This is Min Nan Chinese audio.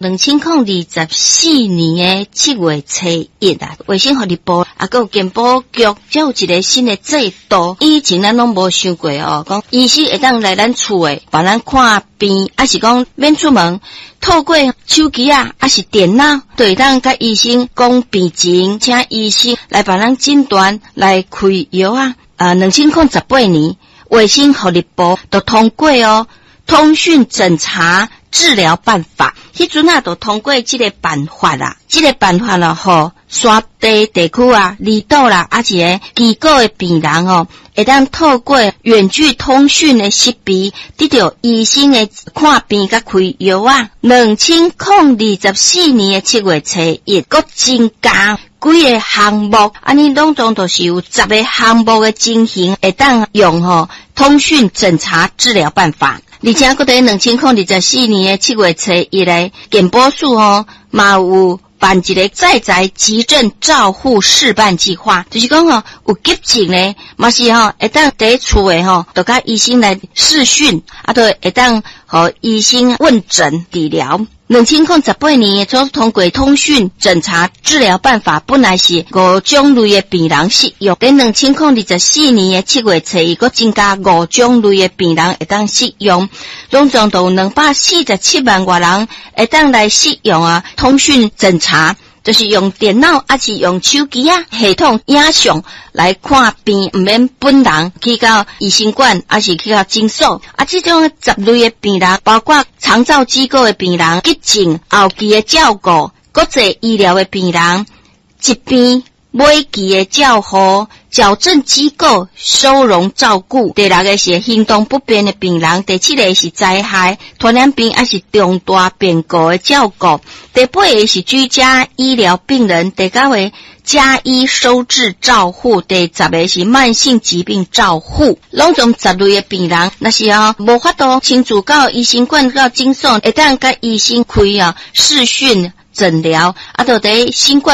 2024年的7月初1啊，衛生福利部啊，閣有健保局，才有一个新的制度。以前咱攏無想過哦，講醫生會當來咱厝的，幫咱看病，抑是講免出門，透過手機啊，抑是電腦，就會當佮醫生講病情，請醫生來幫咱診斷，來開藥啊。啊，2018年，衛生福利部就通過哦，通訊診查治療辦法，彼陣啊，就通過這个辦法啦。這个辦法咯，予山地地區啊、離島啦，抑是个機構的病人哦，會當透過遠距通訊的設備，得著醫生的看病佮開藥啊。2024年的7月初1，閣增加幾个項目，按呢攏總就是有十个項目的情形，會當用吼通訊診查治療辦法。而且，閣佇2024年的七月初一咧，健保署吼嘛有辦一个在宅急症照護試辦計劃，就是講吼有急症咧，嘛是吼會當佇厝的吼，就佮醫生來視訊，啊，就會當予醫生問診治療。2018年所通過通訊診查治療辦法，本來是五種類的病人適用。佇2024年的七月初一，閣增加五種類的病人會當適用，總共就有247萬外人會當來適用啊。通訊診查就是用電腦，抑是用手機啊系統影像來看病，毋免本人去到醫生館，抑是去到診所。啊，這種十類的病人，包括長照機構的病人、急症後期的照顧、國際醫療的病人、疾病尾期的照護、矯正機構收容照顧。第六个是行動不便的病人，第七个是災害、傳染病抑是重大變故的照顧。第八个是居家醫療病人，第九个家醫收治照護，第十个是慢性疾病照護。攏總十類的病人，若是哦無法度親自到醫生館到診所，會當佮醫生開啊視訊診療，啊，就佇新冠。